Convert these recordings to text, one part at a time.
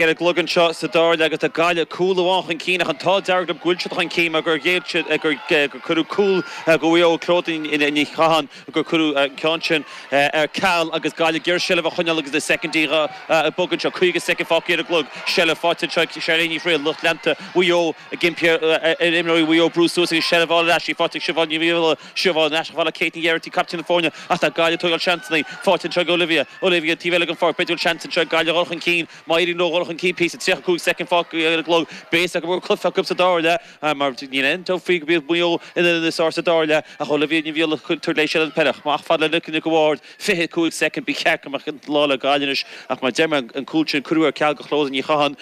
Ar an gclog anseo sa dara leath agus tá Gaillimh cúl amháin chun cinn ach an t-ádh dearg leo go bhfuil siad chun cinn mar gur ghéill siad gur cuireadh cúl do Mhaigh Eo Clodagh Ní Chatháin gur cuireadh an ceann sin ar ceal agus Gaillimh ag iarraidh seilbh a choinneáil agus na soicindí ag bogadh anseo. 50 soicind fágtha ar an gclog. Seilbh faighte anseo ag Charlene Ní Fhrighil, lucht leanta Mhaigh Eo ag impí ar imreoirí Mhaigh Eo brú suas agus seilbh a fháil ar ais. Í faighte ag Siobhán Ní Bhriail. Siobhán ar ais chomh fada le Kate Ní Ghearaighty, captaen na foirne ach tá Gaillimh ag tógáil seansanna. Faighte anseo ag Olivia. Olivia taobh eile den pháirc. B'fhéidir go bhfuil seans anseo ag Gaillimh a dhul chun cinn. Má éiríonn leo dhul chun cinn píosa, 35 soicind fágtha ar an gclog, beidh a fhios acu go bhfuil cluiche acu sa dara leath mar níl aon dabht faoi go mbeidh Maigh Eo ina níos fearr sa dara leath ach Olivia Ní Bhriail ag tabhairt léi seilbh na peile amach fad le Nic Nic a' Bhaird, 25 soicind, ba cheart go mbeadh an lá le Gaillimh anois ach mar a deir mé an cúl sin cuireadh ar ceal do Chlodagh Ní Chatháin,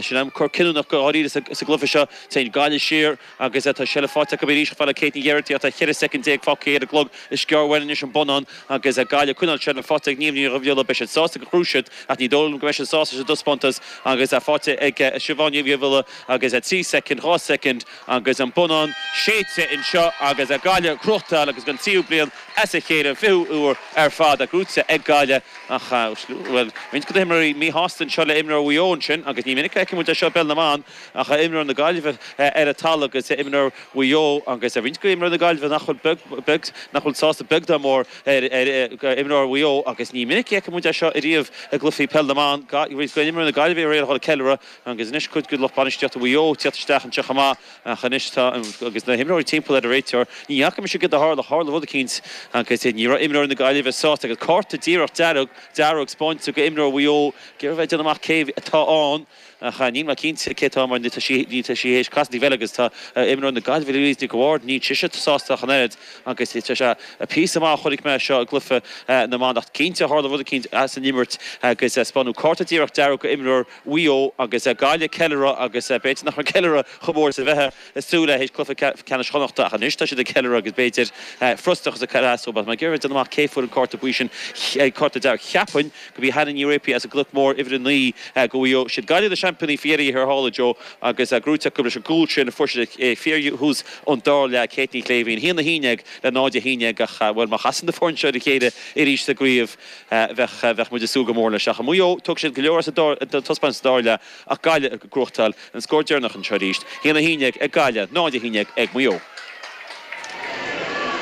sin am cor cinniúnach go háirithe sa gcluiche seo. Téann Gaillimh siar. Agus tá seilbh faighte acu arís chomh fada le Kate Ní Ghearaighty ach tá 14 soicind fágtha ar an gclog. Is gearr uainn anois an bonnán agus Gaillimh ag coinneáil seilbhe faighte ag Niamh Ní Dhubhghiolla. Beidh siad sásta gur ghnóthaigh siad ach ní dóigh liom go mbeidh siad sásta leis an dtaispeántas agus faighte ag Siobhán Ní Dhubhghiolla agus 3 soicind, 2 soicind agus an bonnán séidte anseo agus Gaillimh ag gnóthachtáil agus don tríú bliain as a chéile, an 20ú huair ar fad, gnóthaithe ag Gaillimh ach, bhuel, roinnt de na himreoirí míshásta anseo le imreoir Mhaigh Eo ansin agus ní minic a fheiceann muid é seo i bpeil na mban. Ach imreoir na Gaillimhe ar an talamh agus imreoir Mhaigh Eo agus roinnt de imreoirí na Gaillimhe nach bhfuil beag, nach bhfuil sásta beag ná mór ar imreoir Mhaigh Eo agus ní minic a fheiceann muid é seo ariamh i gcluichí peil na mban. Roinnt de imreoirí na Gaillimhe aréir a dhul ag ceiliúradh agus anois cuid de lucht bainistíochta Mhaigh Eo ag tíocht isteach anseo chomh maith ach anois tá agus na himreoirí timpeall ar an réiteoir. Ní fhaca mise céard a tharla, tharla rud eicínt agus ní raibh imreoirí na Gaillimhe sásta agus cárta díreach dearg, dearg spáinte go imreoir Mhaigh Eo. Ag iarraidh bheith ag déanamh amach cé atá ann. Ach níl mé cinnte cé atá mar tá sí tá sí théis casadh taobh eile agus tá imreoir na Gaillimhe Louise Nic a' Bhaird, níl sise sásta ach an oiread agus tá sé píosa maith a chonaic mé seo i gcluiche na mban ach cinnte tharla rud eicínt as an imirt agus spáineadh cárta díreach dearg go imreoir Mhaigh Eo agus Gaillimh ag ceiliúradh agus b'fhéidir nach raibh ceiliúradh chomh mór is a bheifeá ag súil le théis cluiche ceannais Chonnachta ach anois tá siad ag ceiliúradh agus b'fhéidir frustrachas ag cur as dóibh. Ach mé ag iarraidh déanamh amach cé fuair an cárta buí sin, cárta dearg cheapfainn. Gurb í Hannah Ní Réapaí as an gCnoc Mór uimhir 9 go Mhaigh Eo. Siad Gaillimh na seaimpíní faoi dheireadh thiar thall, a Joe, agus gnóthaithe acu leis an gcúl sin a fuair siad ag fíorthús an dara leath, Kate Ní Shléibhín. 1-11 le 0-11 ach, bhuel, má chasann na foirne seo ar a chéile arís sa gcraobh, bheadh, bheadh muid ag súil go mór leis. Ach Maigh Eo, tógfaidh siad go leor as an taispeántas sa dara leath ach Gaillimh ag gnóthachtáil an scór deireanach anseo arís, 1-11 ag Gaillimh, 0-11 ag Maigh Eo.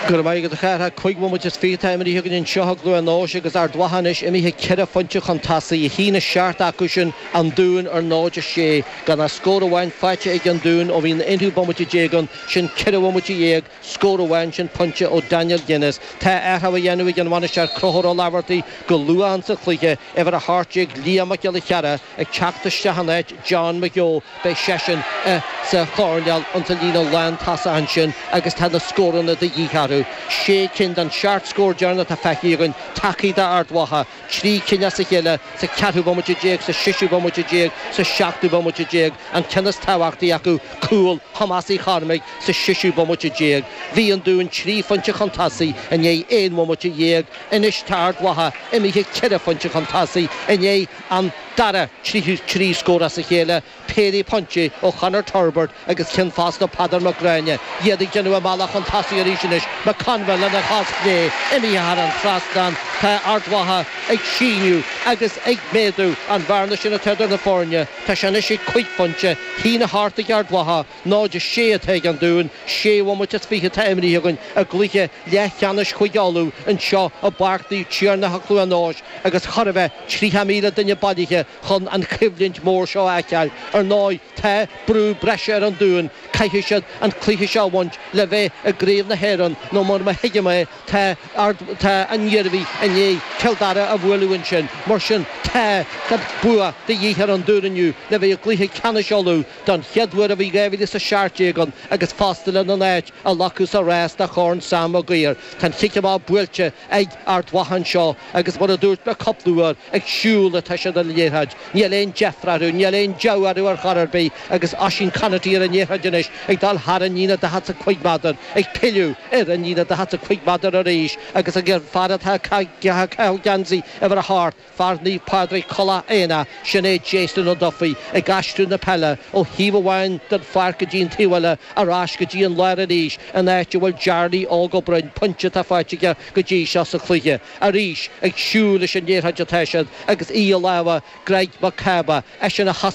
Go raibh maith agat a Chárthaigh. 25 bhomaite atá imeartha againn anseo i gCluain Eois agus Ard Mhacha anois imithe ceithre phointe chun tosaigh, 1-7 acu sin, An Dún ar 0-6. Gan ach scór amháin faighte ag An Dún ó bhí an aonú bomaite déag ann, sin ceithre bhomaite dhéag, scór amháin, sin pointe ó Daniel Guinness. Tá athrú á dhéanamh ag an bhainisteoir Conchúr Ó Laibheartaigh go luath insa chluiche, uimhir 18 Liam Mac Giolla Chearra, Ag teacht isteach in áit John McGeough, beidh seisean sa choirnéal ins an líne lántosach ansin agus tá na scóranna de dhíth orthu. Sé cinn den seacht scór deireanach atá feicthe againn tagtha d'Ard Mhacha, trí cinn as a chéile sa cheathrú bomaite déag, sa seisiú bomaite déag, sa seachtú bomaite déag, an ceann is tábhachtaí acu, cúl Thomáis Uí Chormaic sa seisiú bomaite déag. Bhí an Dún trí phointe chun tosaigh i ndiaidh aon bhomaite dhéag, anois tá Ard Mhacha imithe ceithre phointe chun tosaigh i ndiaidh an dara 33 scór as a chéile, péire pointe ó Chonor Turbirt agus ceann fosta ó Peadar Mac Gráinne. Iad ag déanamh a mbealach chun tosaigh arís anois, McConville lena chos chlé imithe thar an trasnán. Tá Ard Mhacha ag síneadh agus ag méadú an bhearna sin atá idir na foirne. Tá sé anois ag cuig phointe, 1-8 ag Ard Mhacha, 0-6 atá ag an Dún. Sé bhomaite is fiche atá imrithe againn i gcluiche leathcheannais Chúige Uladh anseo i bPáirc Naomh Tiarnach i Cluain Eois agus chóir a bheith 30,000 duine bailithe chun an choimhlint mhór seo a fheiceáil. Ar ndóigh, tá brú breise ar an Dún, caithfidh siad an cluiche seo a bhaint le bheith i gCraobh na hÉireann nó mar má thuigim é, tá Ard, tá an Iarmhí i ndiaidh Cill Dara a bhualadh ansin. Mar sin, tá bua de dhíth ar an Dún inniu le bheith i gcluiche ceannais Uladh don chéad uair ó bhí 2017 ann agus fosta lena n-áit a ghlacadh sa rás do Chorn Sam Maguire. Tá an chic amach buailte ag Ard Mhacha anseo agus mar a dúirt mé cúpla uair, ag siúl atá siad ar an liathróid. Níl aon deifir orthu, níl aon deabhadh orthu ar chor ar bith agus Oisín Conaty ar an liathróid anois ag dul thar an líne 45 méadar, ag pilleadh ar an líne 45 méadar arís agus an fear atá ag caitheamh geansaí uimhir a hocht, Fear Naomh Pádraig Tulach Éanna, sin é Jason O'Duffy, ag aistriú na peile ó thaobh amháin den pháirc go dtí an taobh eile, ar ais go dtí an lár arís, an áit a bhfuil Jarly Óg Ó Broin, pointe atá faighte aige go dtí seo sa chluiche. Arís, ag siúl leis an liathróid atá siad agus í i lámha. Greg Mac Cába, eisean a thosaigh.